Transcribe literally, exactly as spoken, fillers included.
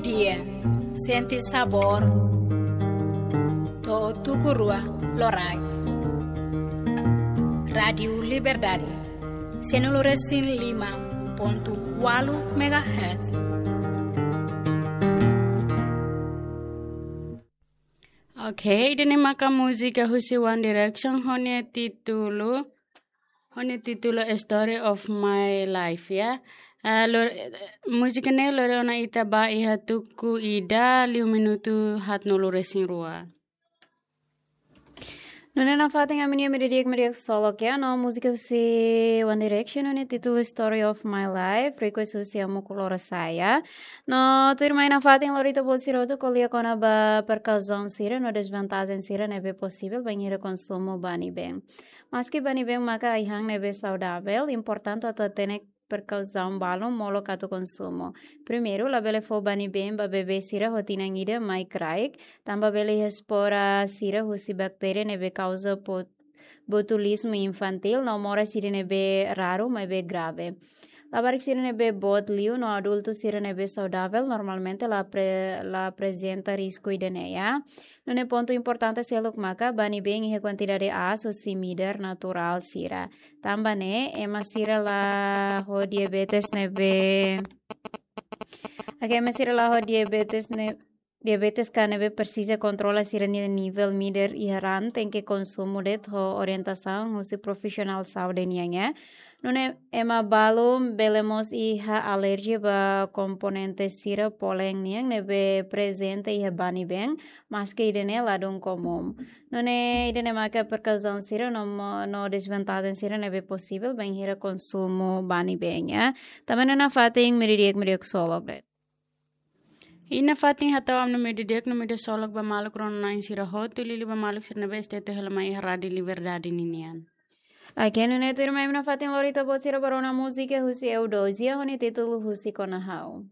Iya, sente sabór. To'o tuku rua loraik. Rádiu Liberdade, sianulu resin lima pontu ualu megahertz. Ok, ida-ne'e maka múzika husi One Direction ho nia títulu, ho nia títulu Story of My Life, ya. Eh, lor-, eh, múzika ne'e lori ona ita ba iha tuku ida liu minutu haatnulu resin rua. Nune'e nafatin ami-nia Media Di'ak, Media Solok, ya, no múzika husi One Direction, no nia títulu Story of My Life, request husi Amu Kulora Saya. No tuirmai nafatin lori ita-boot sira hotu ko'alia kona-ba prekausaun sira no desvantajen sira ne'ebé posivel bainhira konsumu bani been. Maski bani been maka ai-han ne'ebé saudavel, importante atu hatene prekausaun balun molok atu konsumu. Primeiru, labele fó bani been ba bebé sira ho tinan ida mai kraik, tanba bele iha espora sira husi baktéria ne'ebé kauza po-, botulizmu infantil, no moras ida ne'ebé raru maibé grave. Labarik sira ne'ebé boot liu no adultu sira ne'ebé saudavel normalmente la apre-, la aprezenta risku ida-ne'e, ya. Nune'e pontu importante seluk maka bani been iha kuantidade aas husi midar naturál sira. Tanba ne'e, ema sira la ho diabetes ne'ebé, oke, ema sira la ho diabetes ne'e, diabetes ka ne'ebé presiza kontrola sira-nia nivel midar iha raan tenke konsumu de'it ho orientasaun husi profisionál saúde nian, ya. Nune'e ema balun bele mós iha alerjia ba komponente sira polen nian ne'ebé prezente iha bani been, maski ida-ne'e ladún komún. Nune'e ida-ne'e maka prekausaun sira no mo-, no desvantajen sira ne'ebé posivel bainhira konsumu bani been, ya. Tanba ne'e nafatin Media Di'ak, Media Solok de'it. I nafatin hatama ami-nia Media Di'ak no Media Solok ba maluk rona-na'in sira hotu, liuliu ba maluk sira ne'ebé stay hela mai iha Rádiu Liberdade ninian. Oke, nune'e tuirmai ami nafatin lori ita-boot sira ba rona múzika husi Eudosia ho nia títulu Husik Ona Ha'u.